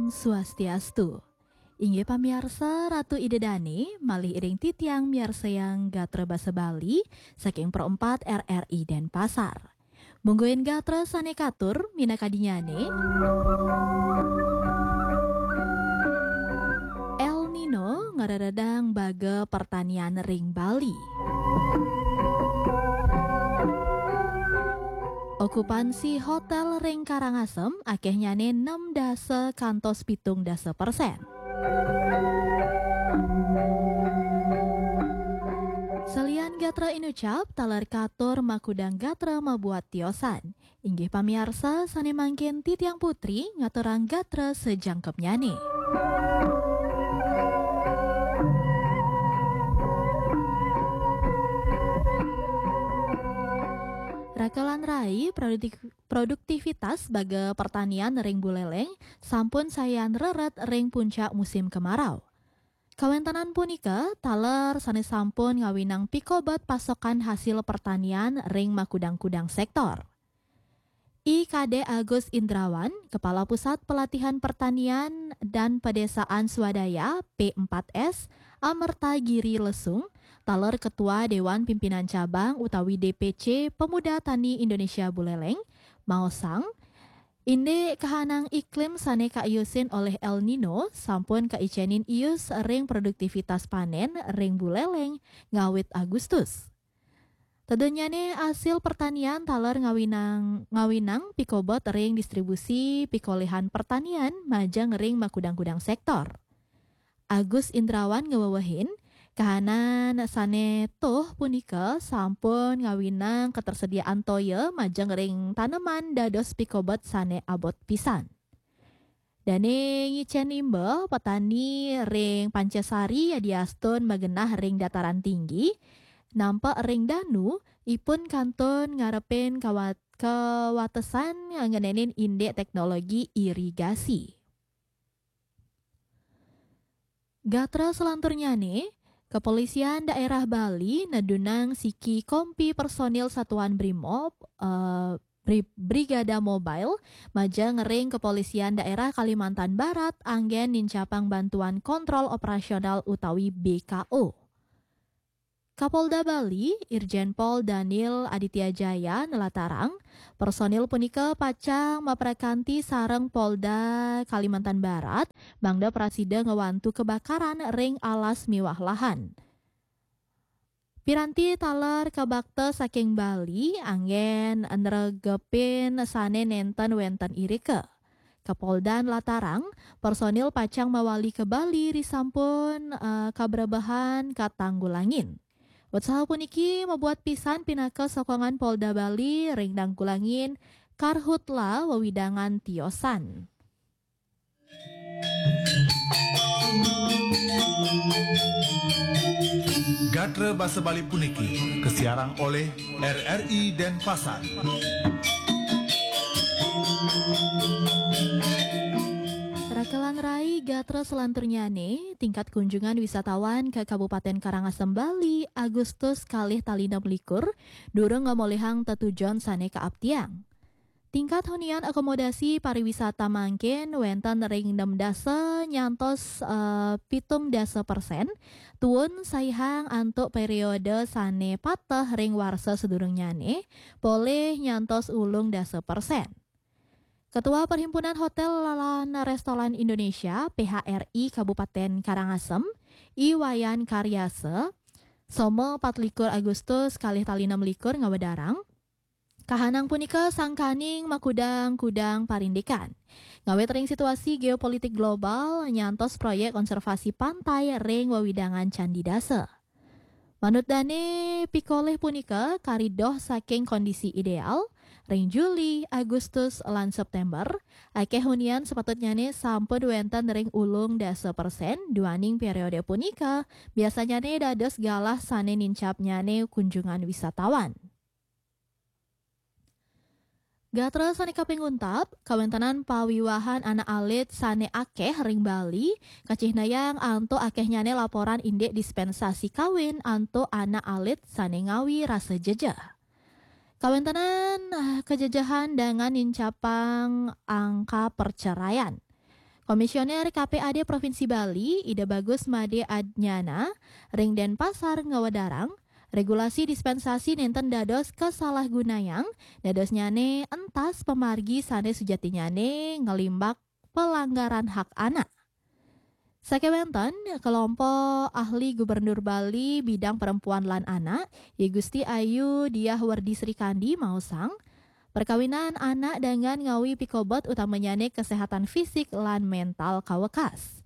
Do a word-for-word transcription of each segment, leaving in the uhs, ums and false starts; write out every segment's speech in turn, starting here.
Swastiastu. Inggih pamiarsa, Ratu Ida Dane, malih iring titiang miarsayang gatra basa Bali saking Pro empat R R I Denpasar. Mungguing gatra sane katur minakadinyane. El Nino ngreredang baga pertanian ring Bali. Okupansi hotel ring Karangasem akehnyane enam dasa kantos pitung dasa persen. Salian gatra inucap, taler katur makudang gatra mabuat tiosan. Inggih pamiarsa, sane mangkin titiang Putri ngaturang gatra sajangkepnyane. Raka lan rai, produkti-, produktivitas baga pertanian ring Buleleng sampun sayan reret ring puncak musim kemarau. Kawentenan punika taler sane sampun ngawinang pikobet pasokan hasil pertanian ring makudang-kudang sektor. I Kadek Agus Indrawan, Kepala Pusat Pelatihan Pertanian dan Pedesaan Swadaya, P empat S, Amerta Giri Lesung, taler Ketua Dewan Pimpinan Cabang utawi D P C Pemuda Tani Indonesia Buleleng, maosang, indik kahanang iklim sane kaiusin olih El Nino sampun kaicenin ius ring produktivitas panen ring Buleleng ngawit Agustus. Tedunnyane asil pertanian taler ngawinang, ngawinang pikobet ring distribusi pikolihan pertanian majeng ring makudang-kudang sektor. Agus Indrawan ngewewehin, kahanan sane tuh punika sampun ngawinang ketersediaan toya majeng ring taneman dados pikobet sane abot pisan. Dane ngicen imba, petani ring Pancasari yadiastun magenah ring dataran tinggi, nampek ring danu, ipun kantun ngarepin kawat-, kawatesan ngenenin indik teknologi irigasi. Gatra selanturnyane, Kepolisian Daerah Bali nedunang siki kompi personil Satuan Brimob, eh, Bri-, Brigada Mobile, majeng ring Kepolisian Daerah Kalimantan Barat anggen nincapang bantuan kontrol operasional utawi B K O. Kapolda Bali, Irjen Pol Daniel Aditya Jaya nelatarang, personil punika pacang maprakanti sareng Polda Kalimantan Barat, mangda prasida ngwantu kebakaran ring alas miwah lahan. Piranti taler kabakta saking Bali anggen nregepin sane nenten wenten irika. Kapolda nlatarang, personil pacang mawali ka Bali risampun, eh, kabrebehan katanggulangan. Utsaha puniki mabuat pisan pinaka sokongan Polda Bali ring nanggulangan Karhutla wewidangan tiosan. Gatra basa Bali puniki kasiarang olih R R I Denpasar. Raka lan rai, gatra selanturnyane, tingkat kunjungan wisatawan ka Kabupaten Karangasem Bali, Agustus kalih tali enam likur, durung ngamolihang tetujon sane kaaptiang. Tingkat hunian akomodasi pariwisata mangkin wenten ring enam dasa nyantos, eh, pitung dasa persen, tuun saihang antuk periode sane pateh ring warsa sadurungnyane, polih nyantos ulung dasa persen. Ketua Perhimpunan Hotel lan Restoran Indonesia, P H R I Kabupaten Karangasem, I Wayan Karyasa, Soma patlikur Agustus kalih tali enam likur ngawedarang, kahanang punika sangkaning makudang-kudang parindikan. Ngawit ring situasi geopolitik global, nyantos proyek konservasi pantai ring wewidangan Candi Dasa. Manut dane pikolih punika kari doh saking kondisi ideal, ring Juli, Agustus, lan September, akeh hunian sapatutnyane sampun wenten ring ulung dasa persen, duaning periode punika, biasanyane dados galah sane nincapnyane kunjungan wisatawan. Gatra sane kaping untat, kawentenan pawiwahan anak alit sane akeh ring Bali, kacihnayang antuk akehnyane laporan indik dispensasi kawin antuk anak alit sane ngawi rasa jejeh. Kawentenan, ah, kajejehan dangan nincapang angka perceraian. Komisioner K P A D Provinsi Bali, Ida Bagus Made Adnyana, ring Denpasar ngawedarang, regulasi dispensasi nenten dados kasalahgunayang, dadosnyane entas pamargi sane sujatinyane nglimbak pelanggaran hak anak. Sakewanten, kelompok ahli Gubernur Bali bidang perempuan lan anak, I Gusti Ayu Diah Werdi Srikandi maosang, perkawinan anak dangan ngawi pikobet utamanyane kesehatan fisik lan mental kawekas.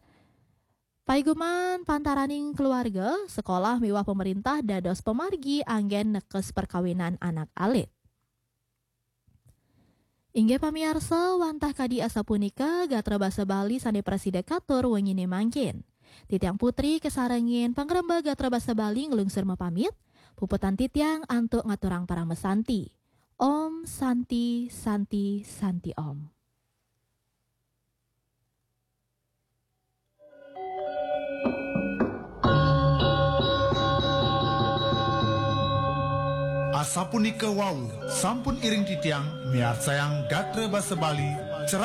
Paiguman pantaraning keluarga, sekolah miwah pemerintah dados pamargi anggen nekes perkawinan anak alit. Inggih pamiarsa, wantah kadi asapunika gatra basa Bali sane prasida katur wengine mangkin. Titiang Putri kasarengin pangremba gatra basa Bali nglungsur mapamit, puputang titiang antuk ngaturang parama santi. Om Santi, Santi, Santi Om. Asapunika wau, sampun iring titiang miarsayang gatra basa Bali, cerah